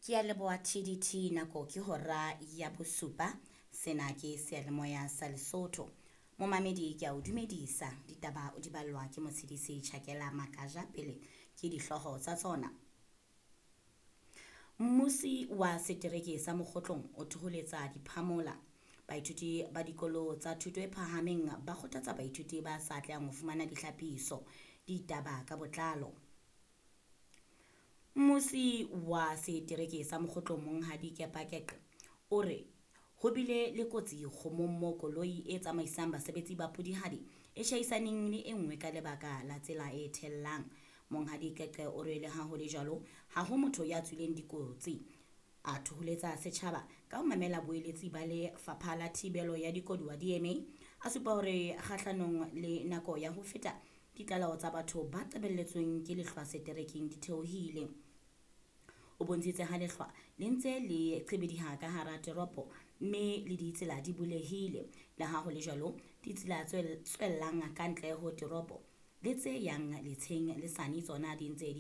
Ke a leboha TDT nako ke hora ya bosupa. Sena ke seyalemoya sa Lesotho. Momamedi ke a o dumedisa. Ditaba o di ballwa ke Motshedisi Tjhakela Makaja pele ke dihlooho tsa tsona. Mmusi wa setereke sa Mokgotlong o thoholetsa diphamola. Baithuti ba dikolo tsa thuto e phahameng ba kgothatsa baithuti ba sa atlehang ho fumana dihlapiso. Ditaba ka botlalo. Mmusi wa setereke sa Mokgotlong Monghadi Kepa Keqe o re ho bile le kotsi kgomong mo koloi e tsamaisang basebetsi ba Pudihadi e tjhaisaneng le e nngwe ka lebaka la tsela e thellang. Monghadi Keqe o re le ha ho le jwalo ha ho motho ya tswileng dikotsi. A thoholetsa setjhaba ka ho mamela boeletsi ba Lefapha la Thibelo ya Dikoduwa DMA. A supa hore kgahlanong le nako ya ho feta ditlaleho tsa batho ba qebelletsweng ke lehlwa seterekeng di theohile. O bontshitse ha lehlwa le ntse le qhibidiha ka hara teropo mme le ditsela di bulehile. Le ha ho le jwalo, ditsela tse tswellang ka ntle ho teropo le tse yang letsheng le sane tsona di ntse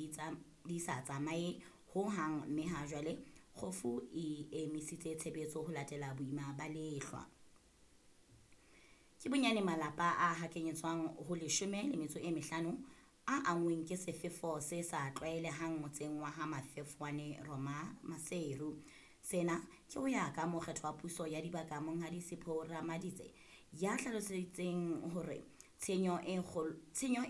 di sa tsamaye ho hang mme ha jwale kgofu e emisitse tshebetso ho latela boima ba lehlwa. Ke bonyane malapa a hakanyetswang ho 15 a anngweng ke sefefo se sa tlwaelehang motseng wa ha Mafefwane Roma Maseru. Sena ke ho ya ka mokgetho wa puso ya dibaka Monghadi Sipho Ramaditse ya hlalositseng hore tshenyo e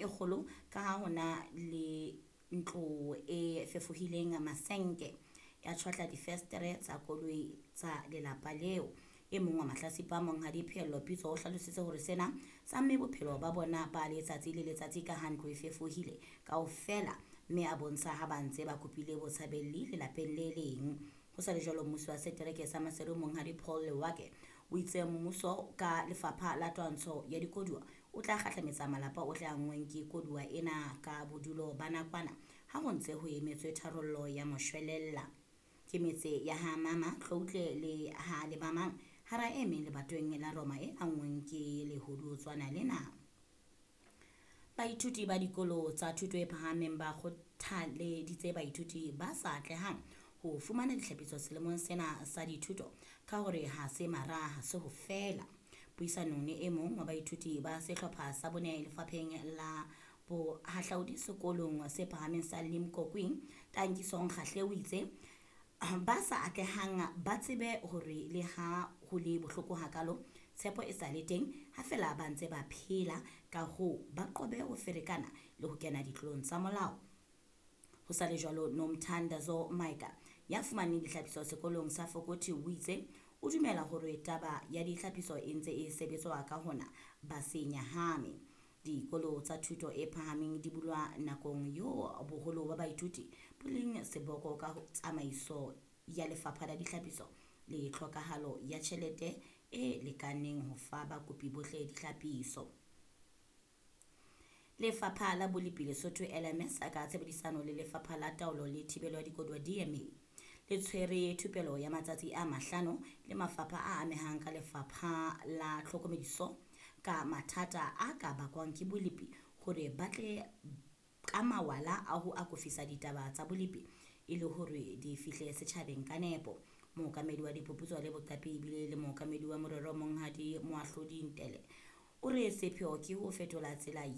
kgolo ka ha hona le ntlo e fefohileng masenke ya tjhwatla difestere tsa koloi tsa lelapa leo. E mong wa mahlatsipa Monghadi Pheello Pitso o hlalositse hore sena sa mme bophelo ba bona ba letsatsi le letsatsi ka ha ntlo e fefohile kaofela mme a bontsha ha ba ntse ba kopile botshabelli lelapeng le leng. Ho sa le jwalo mmusi wa setereke sa Maseru Monghadi Paul Lewake o itse mmuso ka lefapha la twantsho ya dikoduwa o tla kgahlametsa malapa ohle a anngweng ke koduwa ena ka bodulo ba nakwana ha ho ntse ho emetswe tharollo ya moshwelella. Ke metse ya ha Mama Tloutle le ha Lebamang hara e meng lebatoweng la Roma e anngweng ke lehudutswana lena. Baithuti ba dikolo tsa thuto e phahameng ba kgothaleditse baithuti ba sa atlehang ho fumana dihlapiso selemong sena sa dithuto ka hore ha se mara ha se ho fela. Puisanong le e mong wa baithuti ba sehlopha sa bone lefapheng la bohahlaudi sekolong se phahameng sa Limkokwing, Tankisong Kgahle o itse ba sa atlehang ba tsebe hore le ha ho le bohloko hakalo tshepo e sa le teng ha fela ba ntse ba phela, ka hoo ba qobe ho ferekana le ho kena ditlolong tsa molao. Ho sa le jwalo Nomthandazo Maika ya fumaneng dihlapiso sekolong sa Fokothi o itse o dumela hore taba ya dihlapiso e ntse e sebetswa ka hona ba se nyahame. Dikolo tsa thuto e phahameng di bulwa nakong eo boholo ba baithuti bo leng seboko ka tsamaiso ya lefapha la dihlapiso le tlhokahalo ya tjhelete e lekaneng ho fa bakopi bohle dihlapiso. Lefapha la Bolepi Lesotho LMS ka tshebedisano le Lefapha la Taolo le Thibelo ya Dikoduwa DMA le tshwere thupelo ya matsatsi a 5 le mafapha a amehang ka Lefapha la Tlhokomediso ka mathata a ka bakwang ke bolepi hore ba tle ka mawala a ho akofisa ditaba tsa bolepi e le hore di fihle setjhabeng ka nepo. Mookamedi wa diphuputso le boqapi ebile le mookamedi wa morero Monghadi Moahlodi Ntele o re sepheo ke ho fetola tsela